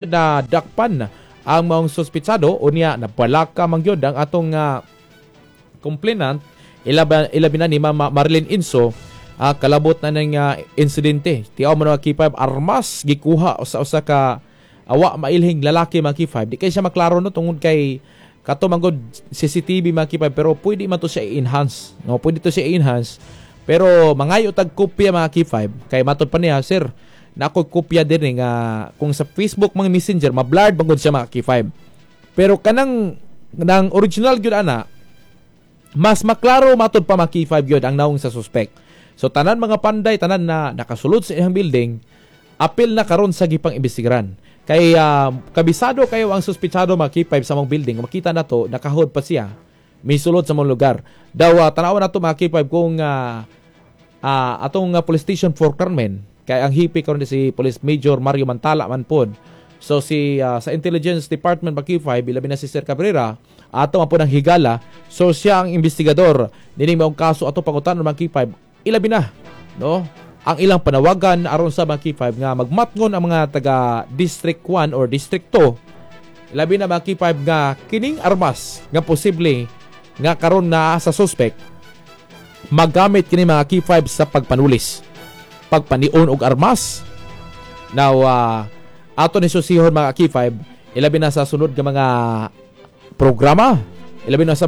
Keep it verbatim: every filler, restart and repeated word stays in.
Na dakpan ang maong suspitsado. Unya nabalaka man gyud ang atong uh, complainant, ilabi, ilabi na ni Mama Marilyn Inso, uh, kalabot na ng uh, insidente. Tiaw mo na, K five, armas gikuha sa usa ka awa mailhing lalaki, mga K five. Di kay siya maklaro, no, tungod kay kato man gud C C T V, mga K five, pero pwede man to siya i-enhance, no? Pwede to siya i-enhance, pero mangayo tag kopya, mga K five, kay matod pa niya, "Sir, na ako kopya din eh," nga kung sa Facebook mga Messenger, ma-blurred bangod siya, mga K five, pero kanang nang original gyud ana, mas maklaro matod pa, mga K five, gyud ang naong sa suspect. So tanan mga panday, tanan na nakasulod sa iyang building, apil na karon sa gipang imbestigaran kay uh, kabisado kayo ang suspitsado, mga K five, sa mong building. Makita na to, nakahod pa siya, misulod sa mong lugar daw. Uh, tanawan na to, mga K five, kung uh, uh, atong uh, police station for Carmen, kay ang hepe karon si Police Major Mario Mantala man pod. So si uh, sa Intelligence Department ba, K five, ilabi na si Sir Cabrera, ato man pod ang higala. So siya ang investigador nining maong kaso. Ato pangutanon, mga K five, ilabi na, no, ang ilang panawagan aron sa mga K five nga magmatngon ang mga taga District one or District two, ilabi na, mga K five, nga kining armas nga posible nga karon na sa suspect, magamit kini, mga K five, sa pagpanulis, pagpanion og armas. Now, uh, ato ni susihon, mga K five, ilabi na sa sunod nga mga programa, ilabi na sa